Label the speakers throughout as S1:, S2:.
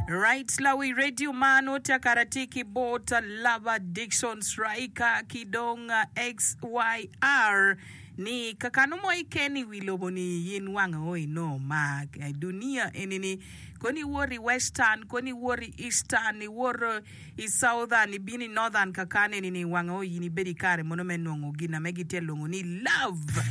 S1: Right lawi radio man otya kara tye ki bot Lava Dickson Striker ki dong XYR ni kakano mo iken i wi lobo ni yin wang o inongo mar i dunia eni ni kono iwot i western kono iwot i eastern iwot I Southern, ibino i Northern kakane eni ni wang o in ibedo i kare mono me nongo gin ame gitye lwongo ni love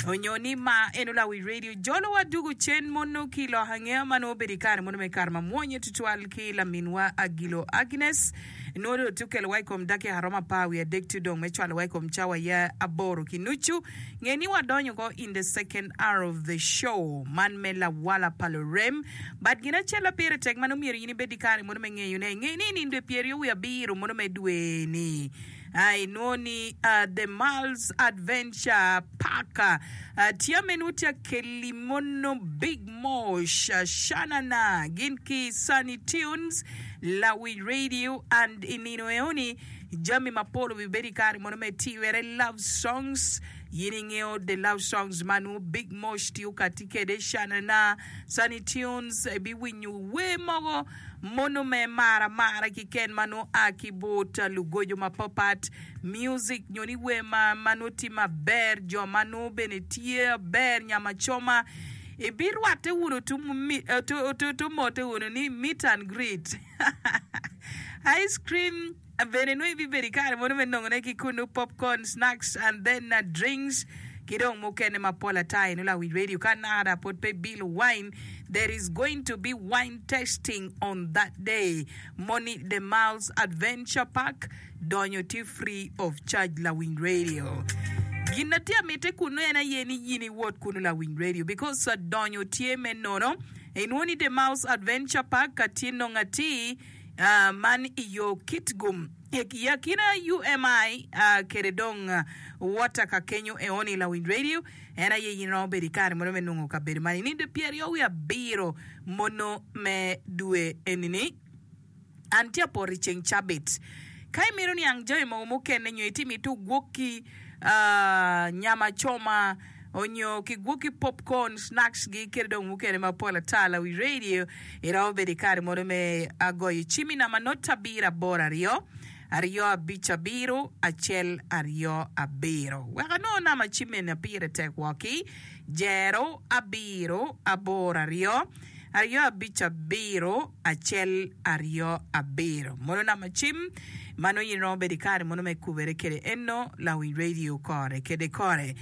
S1: onyo ni mar. Eno lawi radio jolo wa dugu cen mono ki lok angeya ma nongo obedo i kare mono me kare ma mwonye tutwal ki laminwa Agilo Agnes. Nongo dong tye okelo wa i kom dakika romo apar wiye adek tye dong me cwalo wa i kom cawa ya aboro ki nucu. Nge ni wadonyo ko in the second hour of the show man me lawala pa lurem. But gin acel ma pire tek ma nongo myero in ibed ki kare mono me ngeyone, nge ni i nino dwe pyeryo wiye abiro mono me dwe-ni, inwongo ni The Miles Adventure Park tye ma nongo tye ka keli mono Big Mosh, Shanana gin ki Sunny Tunes, Lawic Radio and i nino eoni jami mapol obibedo i kare mono me tiwere love songs. In ingeyo the love songs ma nongo Big Mosh tye okati kwede, Shanana, Sunny Tunes, ibiwinyo wer mogo mono me mar amara kiken ma nongo a ki bot lugojo mapapat, music nyo ni wer ma ma nongo tye maber, jo ma nongo bene tye aber nyama coma. Ibirwatte wunu tu mote wunu ni meet and greet. Ice cream. Bene nongo ibibedo i kare mono me nongone ki kunnu popcorn, snacks and then drinks ki dong mukene mapol ata eno lawic radio ka nada pwod pe bilo wine there is going to be wine tasting on that day moni the Miles Adventure Park donyo tye free of charge lawiny radio gin na tye amite kunnu en aye ni yin iwot kunnu lawiny radio because donyo tye me nono inwo ni the Miles Adventure Park ka tye nongo atir Man i yo Kitgum i akina UMI kede dong Water ka kenyo eoni lawiny radio en aye in romo bedo i kare mono me nongo kabedo man i nindo pyeryo wiye abiro mono me dwe enini. An tye apoto i ceng cabit. Ka imito niang jami mogo mukene nyo itye mito gwokki nyama coma onyo kigwokki popcorn, snacks gi kede dong mukene mapol ata lawi radio iromo bedo ikare mono me goyo cim i namba not abiro aboro aryo aryo abic abiro acel aryo abiro wek anongo namba cim eni pire tek woki jero abiro aboro aryo aryo abic abiro acel aryo abiro. Mono namba cim ma nongo in iromo bedo i kare mono me kubere kede eno lawiny radio kore kede kore.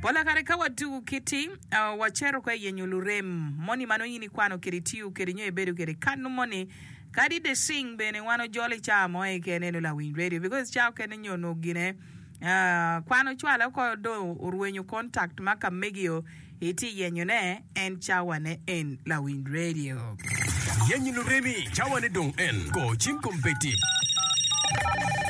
S1: Pola kare ka watuku kiti, uh, wacito ka yenyo lurem moni ma nongo in ikwano kede itiyo kede nyo ibedo kede kanu moni kadi the sing bene wan ojolo i caa mo keken eno lawiny radio because caa okene nyo onongo gine uh, kwan ocwale oko dong orwenyo contact ma ka megio Itye yenyo ne en cawa ne en lawiny radio.
S2: Yenyo luremi cawa ne dong en. Go cim kombeddi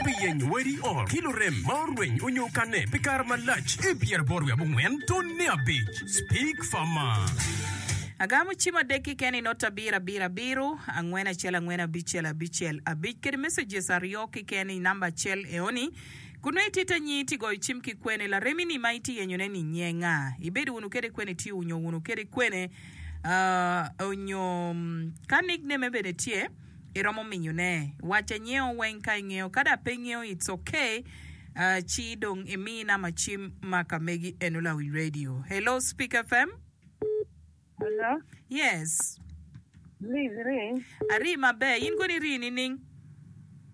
S2: pi yenyo wadi ot ki lurem ma orweny onyo okanne pi kare malac i pyeraboro wiye abongwen tonne abic. Speak Farmer.
S1: Agamo cim adek keken i not abiro abiro abiro angwen acel angwen abicel abicel abic kede messages aryo keken i namba acel eoni. Kun nongo itye te nying itye goyo cim ki kwene laremi ni ma itye yenyo ne ni nye nga? Ibedo wunu kede kwene itiyo onyo wunu kede kwene onyo ka nickname bene tye iromo minyo ne waca nyeo weng ka ingeyo ka dok pe ingeyo it's ok ci dong imi nama cim ma ka megi eno lawiny radio. Hello speak FM.
S3: Hello.
S1: Yes.
S3: Liz iri?
S1: Ari maber. In kono iri nining?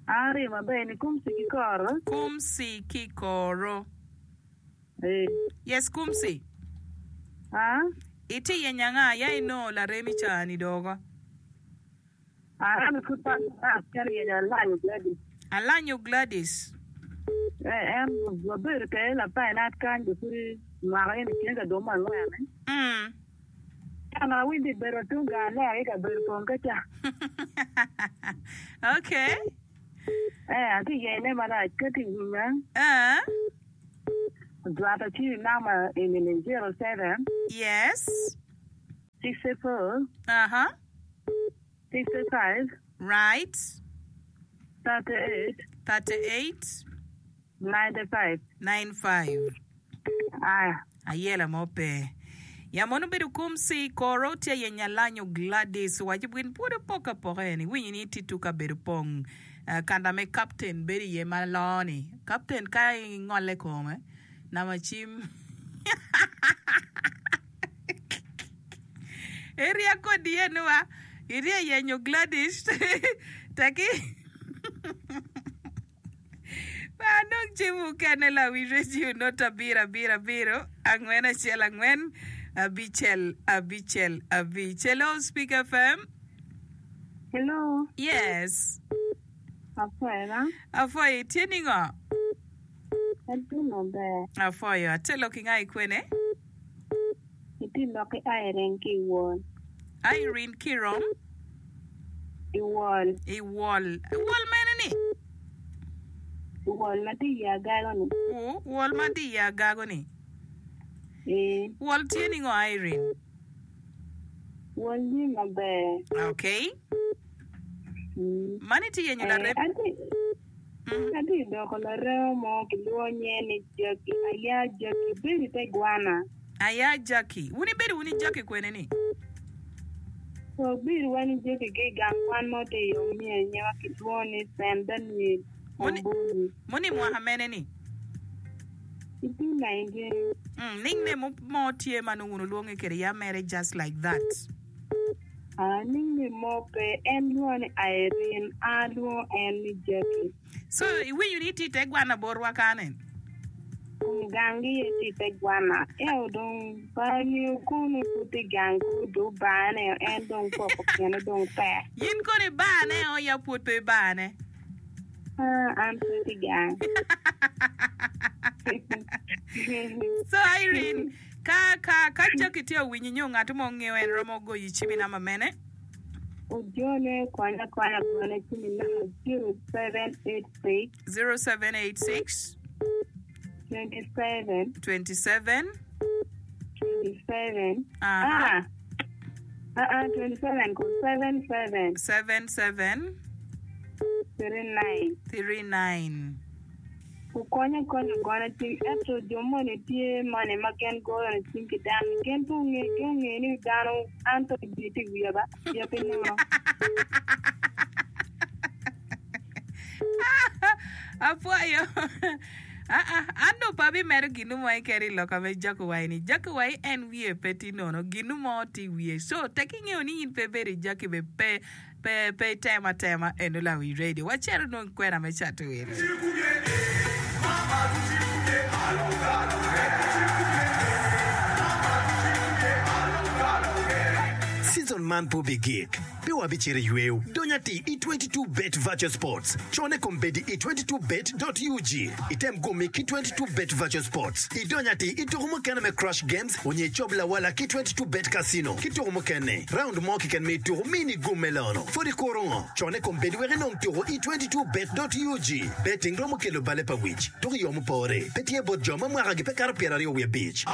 S3: An ari maber ni kumsi ki koro.
S1: Kumsi ki koro.
S3: Eh.
S1: Yes kumsi.
S3: Ah?
S1: Itye yenyo anga? Ya inongo laremi ca ni doko.
S3: An pud pe acito yenyo Alanyo Gladys.
S1: Alanyo Gladys.
S3: Eh, en wabedo kede lapainat kany be pud mwaka eni tye ka dong me angwen.
S1: Mm.
S3: Ento awinjo ni bedo tung gang alea ki kabedo pong ka ca.
S1: Okay.
S3: Eh, atye yene marac ka tye winya.
S1: Eh.
S3: Ojwato ci namba eni ni 07.
S1: Yes.
S3: 64.
S1: Aha.
S3: 65.
S1: Right.
S3: 38.
S1: 38.
S3: 95.
S1: 95.
S3: Aya.
S1: Ayela mo pe. Yam mono obedo kumsi koro tye aye nyalanyo Gladys owaco gin pwod opok apoka eni winyo ni titu kabedo pong kanda me captain bedo iye ma loo ni captain ka ingole kome nama cim Eria kodi eni wa itye yenyo Gladys teki Pe anong cim mukene lawi redio not abiro abiro abiro angwen acel angwen abicel abicel abic. Hello Speak FM.
S4: Hello.
S1: Yes.
S4: Apwoyo.
S1: Apwoyo itye ningo?
S4: Atye maber.
S1: Apwoyo. Atye lok ki nga ikwene?
S4: Itye lok ki Irene ki i Wol.
S1: Irene ki rom?
S4: I Wol.
S1: I Wol. Wol mene ni?
S4: I Wol ma tye i Agago ni.
S1: Ooh, Wol ma tye i Agago ni.
S4: Ee.
S1: Wol tye ningo Irene?
S4: Wol tye maber.
S1: Okay.
S4: Mm.
S1: Mani itye yenyo
S4: Eh,
S1: larem?
S4: atye Atye ka doko larema mo kilwongo nyinge ni Jackie. Aya Jackie, bedo i te gwana.
S1: Aya Jackie, wun ibedo wun i Jackie kwene ni?
S4: Wabedo wan i Jackie ki i gang kwan mo tye i Omia nyinge kilwongo ni Cent Daniel Omboni.
S1: Moni mwaka mene ni?
S4: Itye 19.
S1: Nickname mo tye ma nongo wun wulwonge kwede ya mere just like that.
S4: A Nickname mo pe, en lwonga ni Irene, an alwongo en ni Jackie.
S1: So iwinyo ni itye i te gwana botwa kane?
S4: Kom gangi aye tye i te gwana, ento dong pe angeyo kono pud tye gang kor dong obaneo en dong poko kine dong tek.
S1: In kono ibaneo ya pwod pe ibane?
S4: Ah, an pe tye gang.
S1: So Irene, Ka, ka, ka Jackie tye owinyi nyo ngat mo ngeyo en romo goyi cim i namba mene?
S4: Ojone konya akonya gone cim i namba 0786.
S1: 0786.
S4: 27.
S1: 27.
S4: 27.
S1: Aha.
S4: Ah, ah, ah, 27 ko 77.
S1: 77.
S4: 39.
S1: 39.
S4: Wukonya akonya gona cim, ento jo moni tye moni ma gin goyo ni cim ki dano, gin pe onge, gin onge ni dano an to jami tye i wiya ba, wiya pe nono.
S1: Apwoyo. Aa, an dong pe abimedo ginu mo keken i loka me Jakuwai ni. Jakuwai en wiye pe tye nono, ginu mo tye i wiye. So, tek ingeyo ni in pe ibedo i Jaki be pe Pe, pe item atema eno lawi radio. Wacito nong kwena me cato wil.
S5: Season man pe obigik, pe wabicito i yweyo. Dony atir i 22 Bet Virtual Sports. Cone kombeddi i 22 bet dot ug. Item gummi ki 22 Bet Virtual Sports. Idony atir i tuku mukene me Crush Games onyo icob lawala ki 22 Bet Casino ki tuku mukene. Raund mo keken me ituku mini gum me lono. Pwod ikuro ngo? Cone kombeddi wek inong tuku i 22 bet dot ug. Betting romo kelo bale pa wic. Tuku i yo mupore. Pe tye bot jo ma mwakagi pe kato 25.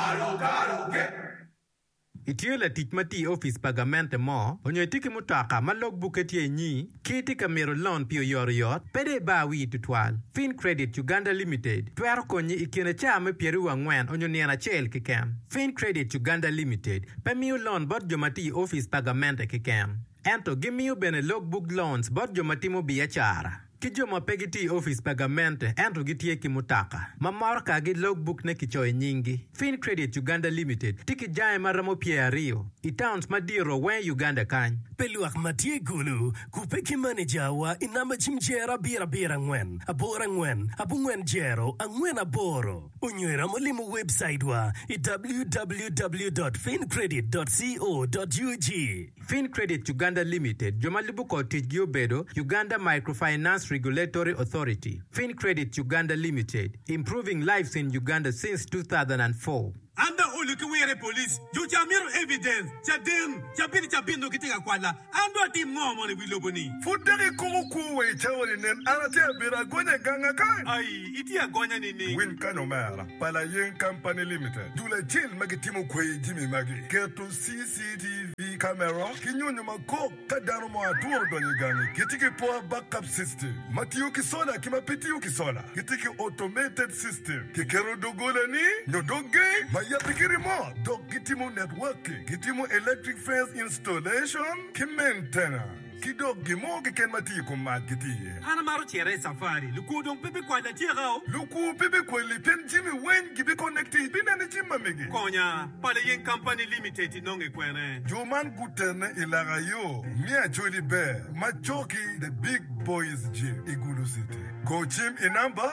S6: Itye latic ma tye i opic pa gamente mo, onyo itye ki mutoka ma log bukke tye inyi, ki itye ka mito lon pi oyotoyot, pe dong ibar wii tutwal. Fincredit Uganda Limited twero konyi i kine caa me pyeraryo angwen onyo nino acel keken. Fincredit Uganda Limited pe miyo lon bot jo ma tiyo i opic pa gamente keken, ento gimiyo bene log book loans bot jo ma timo biacara ki jo ma pe gitiyo i opic pa gamente ento gitye ki mutoka ma morokagi log book ne kicoyo i nyinggi. Fincredit Uganda Limited tye ki jange ma romo pyeraryo i towns madito weng i Uganda kany.
S2: Pi lwak ma tye i Gulu, kubbe ki manejawa i namba cim jero abiro abiro angwen aboro angwen abongwen jero angwen aboro. Onyo iromo limo webcaitwa i www dot fincredit dot co dot ug.
S6: Fincredit Uganda Limited jo ma lubo kor ticgi obedo, Uganda Microfinance Regulatory Authority, Fincredit Uganda Limited, Improving lives in Uganda since 2004.
S7: An dong olo ki wire i police, jo ca mito evidence, caden, cabit ki cabit nongo gitye ka kwala, an dong atim ngo mono i wi lobo ni?
S8: Pud dok ikumo kwo wa i cawa-ni, nen, an atye abedo agonya i ganga kany.
S7: Ai, itye agonya nining?
S8: Winy kany omera pa Layeng Company Limited, dul acel ma gitimo kweyi jami magi, keto CCTV camera ki nyonyo ma kok ka dano mo atura odonyo i gangi. Gitye ki power backup system ma tiyo ki sola ki ma pe tiyo ki sola. Gitye ki automated system, kiketo doggola-ni nyo dog geng ma. yabbi ki remote dok gitimo networking, gitimo electric fence installation ki maintenance, ki dok gin mo keken ma tye i kom mac gitye iye.
S7: An amaro cito i cafari. Lukwo dong pe bikwala atyeka o.
S8: Lukwo pe bikwali pien jami weng gibiconnecti ibineno i cim ma megi.
S7: Konya, Pala Yeng Company Limited inonge kwene?
S8: Jo man gutene i laka yo me Acholi Ber ma coki The Big Boys Gym i Gulu City. Go cim i namba,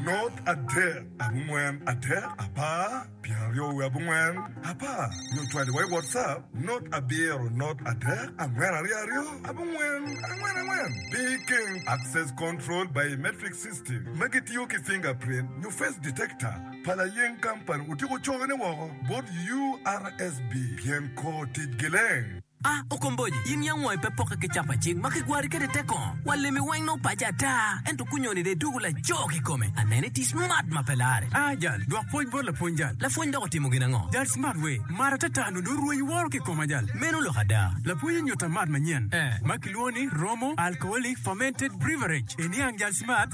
S8: not adek abongwen adek apar pyeraryo wiye abongwen apar nyo cwali wa i WhatsApp not abiro not adek angwen aryo aryo abongwen angwen angwen. Pi keng Access Control Biometric System ma gitiyo ki fingerprint nyo face detector pa layeng kampani otyeko cokone woko bot URSB pien kor ticgi leng.
S9: A Okomboji, in yam wangi pe pokke ki capa cing ma kigwari kwede te kongo. Wa lemi weng nongo paco ata, ento kunyoni dong idwogo laco kikome. Anene itye smart ma pe lare.
S2: A Jal, dwok pwoc bot lapwony jal.
S9: Lapwony dok otimo gin ango?
S2: Jal smart we, mar atata nongo dong orweny woro ki koma jal.
S9: Meno lok ada.
S2: Lapwony onyuta mat manyen
S9: Eh.
S2: ma kilwongo ni Romo Alcoholic Fermented Breverage. Iniang jal smart?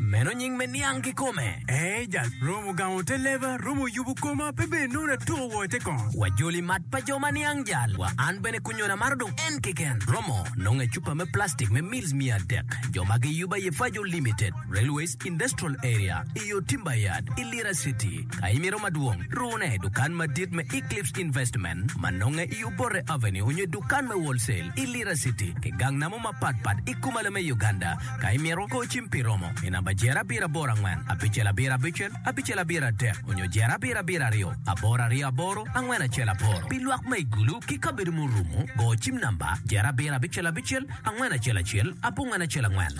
S9: Meno nying me niang kikome.
S2: Ee jal, romo gamo te leba, romo yubo koma, pe bene nongo atuko woo i te kongo.
S9: Wajoli mat pa jo ma niang jal. Wa an bene kunyona amaro dong en keken. Romo nongo i cupa me plastic me mils 300. Jo ma giyubo aye Fajo Limited, Railways Industrial Area, i yo Timber Yard, i Lira City. Ka imito madwong, rune i dukan madit me Eclipse Investment ma nonge i Obote Avenue onyo i dukan me Wholesale i Lira City ki gang namo mapat pat i kumalo me Uganda. Ka imito, go cim pi romo i namba jer abiro aboro angwen abicel abiro abicel abicel abiro adek onyo jer abiro abiro aryo aboro aryo aboro angwen acel aboro. Pi lwak ma i Gulu ki kabedo murumo, go cim namba jer abiro abicel abicel angwen acel acel abongwen acel angwen.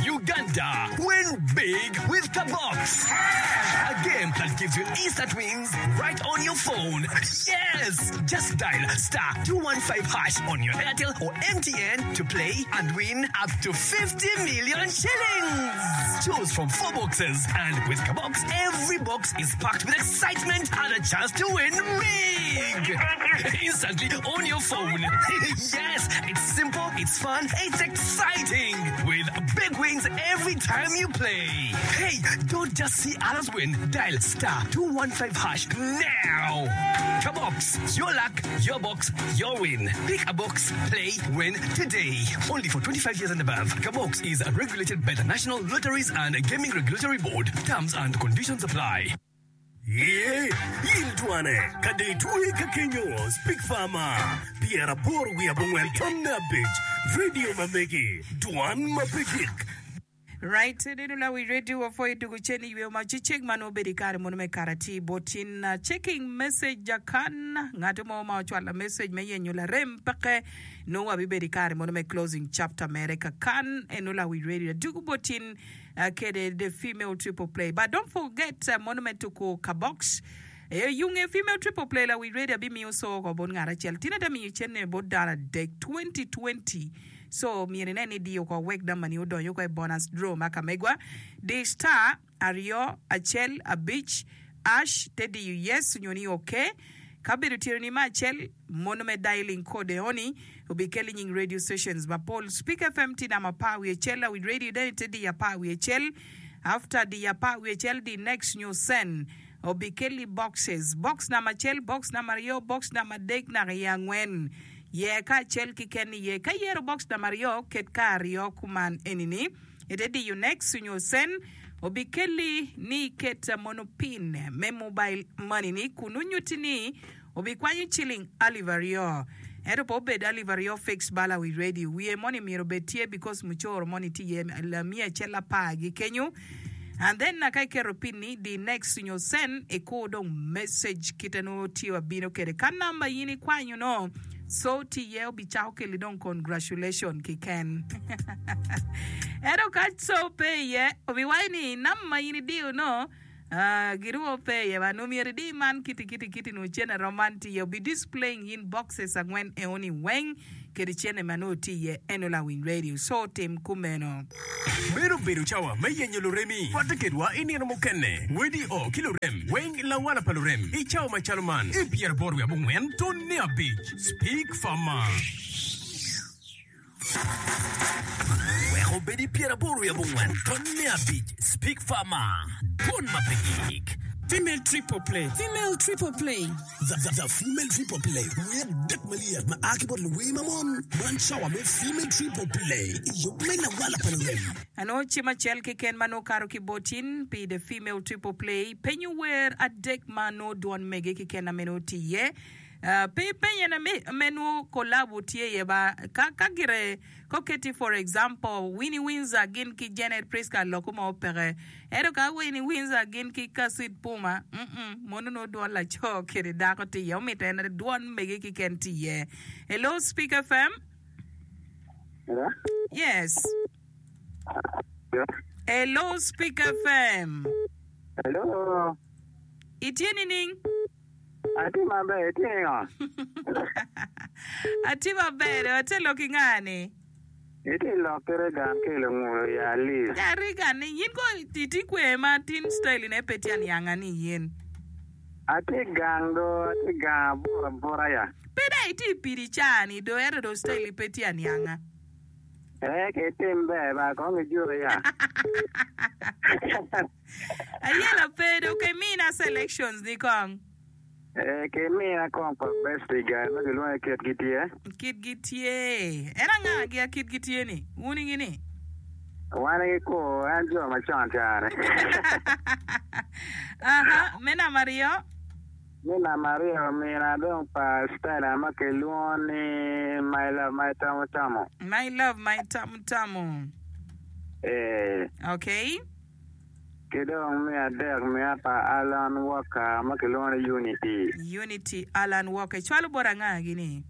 S2: Uganda, win big with Kabox! A game that gives you instant wins right on your phone. Yes! Just dial star 215 hash on your Airtel or MTN to play and win up to 50 million shillings. Choose from four boxes, and with Kabox, every box is packed with excitement and a chance to win big. Instantly on your phone. yes, it's simple, it's fun, it's exciting. With big wins every time you play. Hey, don't just see others win. Dial star 215 hash now. Kabox, your luck, your box, your win. Pick a box, play, win today. Only for 25 years and above. Kabox is regulated by the National Lotteries and Gaming Regulatory Board. Terms and conditions apply.
S10: Ye, in twane, ka dong itwoye ka kenyo, Speak Farmer, pyeraboro wiye abongwen tonne abic, radio ma megi, dwan ma pe gik.
S1: Right, neno lawi radio wa pwoyo dugu cen i yweyo ma cecek ma nongo bedo i kare mono me kare atir bot in. Checking message akan ngato mo ma ocwalo message me yenyo larem peke nongo wabibedo i kare mono me closing chapter mere kakan eno lawi radio adugu bot in. Kede the female triple play but don't forget mono me tuku ka box eyunge female triple play la wi radio abimiyo so ko bot ngat acel tin ata miyo cene bot dano adek 2020 so myero inen ni idiyo ko wek namba ni odonyo ko i bonus draw ma ka megwa di star aryo acel abic ash te diyo yes onyo ni ok ka bedo tyeroni me acel Mono me dialing code eoni obikeli nying radio stations mapol. Speak FM tye namba apar wiye cel, Awiny Radio dene tye diyo apar wiye cel. After diyo apar wiye cel di next nyo send obikeli boxes. Box namba acel, box namba aryo, box namba adek naka i angwen. Yer ka acel kiken iye. Ka iyero box namba aryo, ket ka aryo kuman enini. Ite diyo next nyo send obikeli ni iket mono pin me mobile money ni kun onyuti ni Obikwanyo ciling alip aryo. Ento pe obed alip aryo fix bala wi radio. Wiye moni myero obed tye because mucoro moni tye iye lamiya acel apar gi kenyo. And then ka iketo pin ni di next nyo send ikur dong message kite nongo tye wa bino kede. Ka number in ikwanyo no so tye iye obicako keli dong congratulation kiken. Ento ka so pe iye obiwaco ni number ma in idiyo no Girwo pe iye ba nongo myero idi man kiti kiti kiti nongo cene rom man tye iye obi displaying in boxes angwen eoni weng kede cene ma nongo tye iye eno lawiny radio so tim kumeno.
S2: Meno obedo cawa me yenyo luremi. Rwatte kedwa i nino mukene. Wedi o ki lurem weng lawala pa lurem i cawa macalo man i pyeraboro wiye abongwen tone abic. Speak Farmer.
S9: Wek obed i pyeraboro wiye abongwen tonne abic Speak Farmer, Dwon ma pe gik.
S11: Female Triple Play.
S12: Female Triple Play.
S10: The Female Triple Play, Wer adek malyet ma a ki bot luwer ma mon. Man cawa me Female Triple Play i yub me lawala pa lurem.
S1: Anongo cim acel keken ma nongo kato ki bot in pi The Female Triple Play. Penyo wer adek ma nongo dwon mege keken ame nongo tye iye. Pe ipenye me nongo collabo tye iye ba. Ka ka gire ka oketi for example Winnie Windsor gin ki Janet Prisca loko mo peke. Ento ka Winnie Windsor gin ki Kacid Puma mm mono nongo dwon laco kede dako tye iye. Omito en dwon mege keken tye iye. Hello Speak FM.
S13: Hello?
S1: Yes. Hello Speak FM.
S13: Hello.
S1: Itye nining?
S13: Atye maber, itye ningo?
S1: Atye maber, atye lok ki nga ni?
S13: Itye lok ki Regan ki lungulo i Alice.
S1: Ya Regan ni yin ko itye kwer ma tin style ne pe tye anianga ni yin.
S13: Atye gang do, atye gang abuto abuta ya.
S1: Pe dong itye i pidi caa ni do ento do style pe tye anianga.
S13: Ee ki tim ber ba kong ijuki ya.
S1: Ayela pe dong ke mina selections ni kong.
S13: Ee ki mina kong pa Bestie guy ma kilwongo ni kit gi tye.
S1: Kit gi tye. En anga gi a kit gi tye ni? Wuni gi ni?
S13: Wan gi kur en jo macon ca ni.
S1: Aha, me namba aryo.
S13: Me namba aryo mina dong pa Stella ma kilwongo ni My Love My Tamu Tamu.
S1: My Love My Tamu Tamu.
S13: Ee.
S1: Okay.
S13: Ki dong me adek miya pa Alan Walker ma kilwongo ni Unity.
S1: Unity Alan Walker. Icwalo bot anga gini?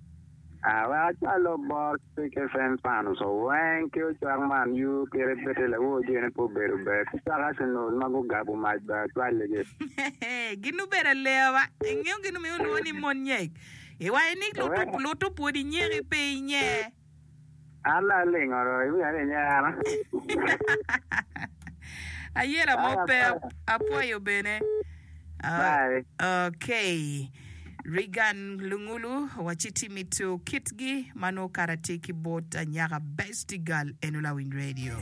S13: Ah, wek acwalo bot Speak FM fans weng ki ocwak man U kite bete lawor joni pe obedo ber ki cwak Arsenal ma gugabo mac bene acwaligi.
S1: Gin obedo alewa ba. Ingeyo gin omiyo olwongo ni mon nyek. Iwaco ni luto pwod inyeki pe inyer.
S13: An dong alingo do, iwinyo ni inyera.
S1: Ayela mo pe apwoyo bene.
S13: Bye.
S1: Okay. Reagan Lungulu wacci ti mito kitgi ma nongo kara tye ki bot anyaka Bestie Girl eno lawiny radio.